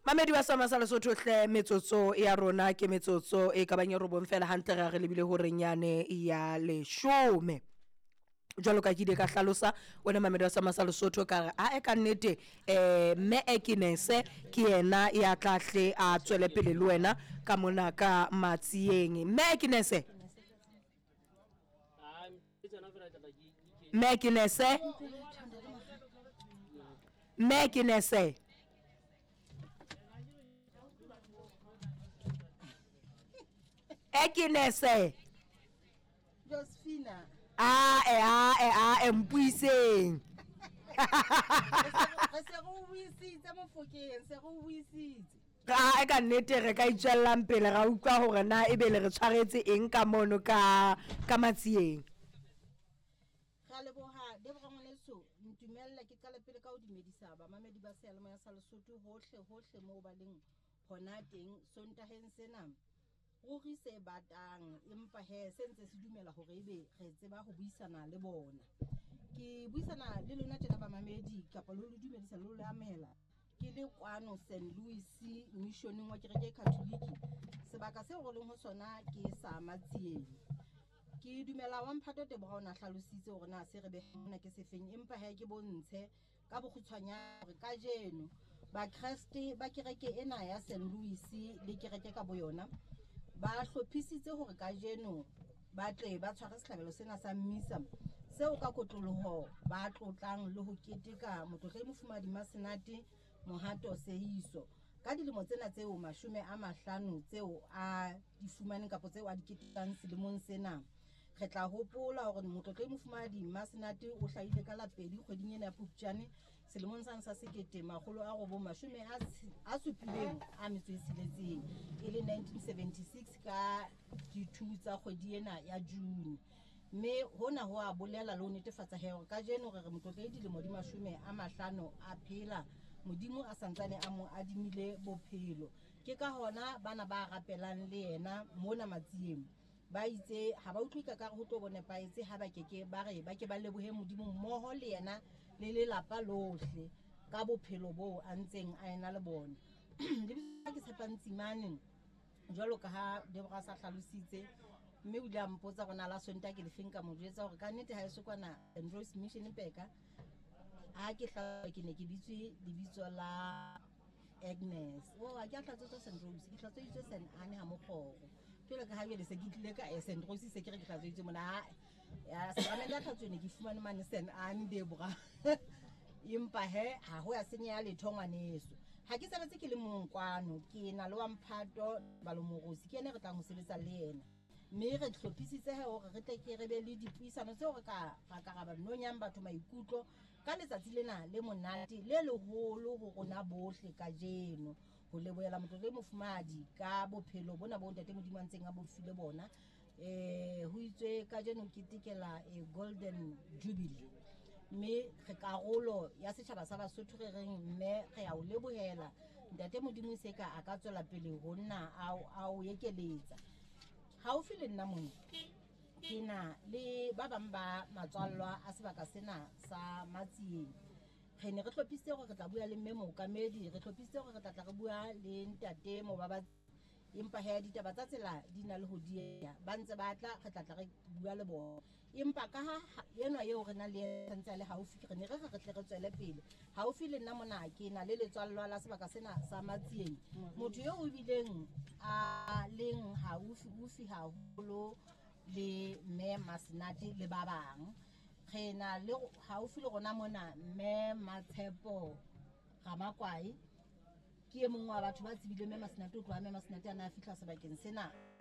Mamedi wa Sama sa Lesotho hle, metsotso ya rona ke metsotso e ka bang e robong fela hantle re re lebile horeng yane ya leshome. Jwalo ka ke ile ka hlalosa wena mamedi wa Sama sa Lesotho ka re ae ka nnete mme Ekinese ke yena ya tla hle a tswele pele le wena ka mona ka Matsieng. Mme Ekinese, mme Ekinese, mme Ekinese. Ekinese. Josephina. Ae ae ae mpuiseng. Re se re o buisitse Mofokeng, se re o buisitse. Ae ka nnete re ka itswellang pele ra utlwa hore na ebe le re tshwaretse eng ka mono ka ka Matsieng. Re a leboha Debora ngwaneso, ntumelle ke qale pele ka ho dumedisa bamamedi ba seyalemoya sa Lesotho hohle hohle moo ba leng hona teng Sontaheng sena. Ruri se batang, empa he se ntse se dumela hore ebe re tseba ho buisana le bona. Ke buisana le lona tjena bamamedi kapa le le dumedisa le le amohela ke le kwano St. Louis missioneng wa kereke e Catholic. Sebaka seo re leng ho sona ke sa Matsieng. Ke dumela wa Mphato Teboga o na hlalositse hore na se re behang mona ke sefeng, empa he ke bontshe ka bokgutshwanyane hore kajeno Bakreste ba kereke ena ya St. Louis le kereke ka boyona ba hlophisitse hore kajeno ba tle ba tshware sehlabelo sena sa mmisa seo ka kotloloho ba tlotlang le ho keteka Motlotlehi Mofumahadi Masenate Mohato Seeiso ka dilemo tsena tseo 50 tseo a di fumaneng kapa tseo a di ketekang selemong sena. Re tla hopola hore Motlotlehi Mofumahadi Masenate o hlahile ka la 2 kgweding ena ya Phupjane selemong sane sa 1976 e le 1976 ka di-2 tsa kgwedi ena ya June. Mme hona ho a bolela le ho netefatsa he hore kajeno re re Motlotlehi dilemo di 50 a phela, Modimo a santsane a mo adimile bophelo. Ke ka hona bana ba rapelang le yena mona Matsieng ba itse ha ba utlwe ka kare ho tlo bo nepahetse ha ba keke ba re ba ke ba lebohe Modimo mmoho le yena le lelapa lohle ka bophelo boo a ntseng a ena le bona. Lebitso ke Tshepang Tsimane jwalo ka ha Deborah sa hlalositse, mme o ile a mpotsa hore na la Sontaha ke lefeng, ka mo jwetsa hore ka nnete ha eso kwana St. Louis Mission Peka ha ke hlatswa ke ne ke bitswe lebitso la Agnes. Oh, ha ke a hlatswetswa St. Rose, ke hlatsweditswe St. Anne ha Mokgoro. Jwale ka ha jwale se ke tlile ka St. Rose se ke re ke hlatsweditswe mona. Ya sakramente ya tlhatsuo ne ke fumane mane St. Anne Deborah. Empa he ha ho ya senyeha letho ngwaneso. Ha ke sebetse ke le mong kwano, ke na le wa Mphato Balomorosi, ke yena re tlang ho sebetsa le yena. Mme re hlophisitse he hore re tle ke re be le dipuisano tseo re ka ra ka ra ba nonyang batho maikutlo ka letsatsi lena le monate le leholo ho rona bohle kajeno, ho lebohela Motlotlehi Mofumahadi ka bophelo bona bo Ntate Modimo a ntseng a bo file bona. Ho itswe kajeno ketekela Golden Jubilee, mme re karolo ya setjhaba sa Basotho re reng mme re a o lebohela Ntate Modimo se ka a ka tswela pele ho nna a o ekeletsa. Haufi le nna mona ke na le ba bang ba matswallwa a sebaka sena sa Matsieng. Re ne re hlophisitse hore re tla bua le mme mookamedi, re hlophisitse hore re tla tla re bua le ntate Mobabatsi, empa he ditaba tsa tsela di na le ho dieha, ba ntse ba tla, re tla tla re bua le bona. Empa ka ha enwa eo re nang le yena ntse a le haufi, re ne re re re tle re tswele pele. Haufi le nna mona ke na le letswallwa la sebaka sena sa Matsieng, motho eo o bileng a leng haufi-ufi haholo le mme Masenate le ba bang. Re na le haufi le rona mona mme Matshepo Ramakwae, ke e mong wa batho ba tsebileng mme Masenate ho tloha mme Masenate a ne a fihla sebakeng sena.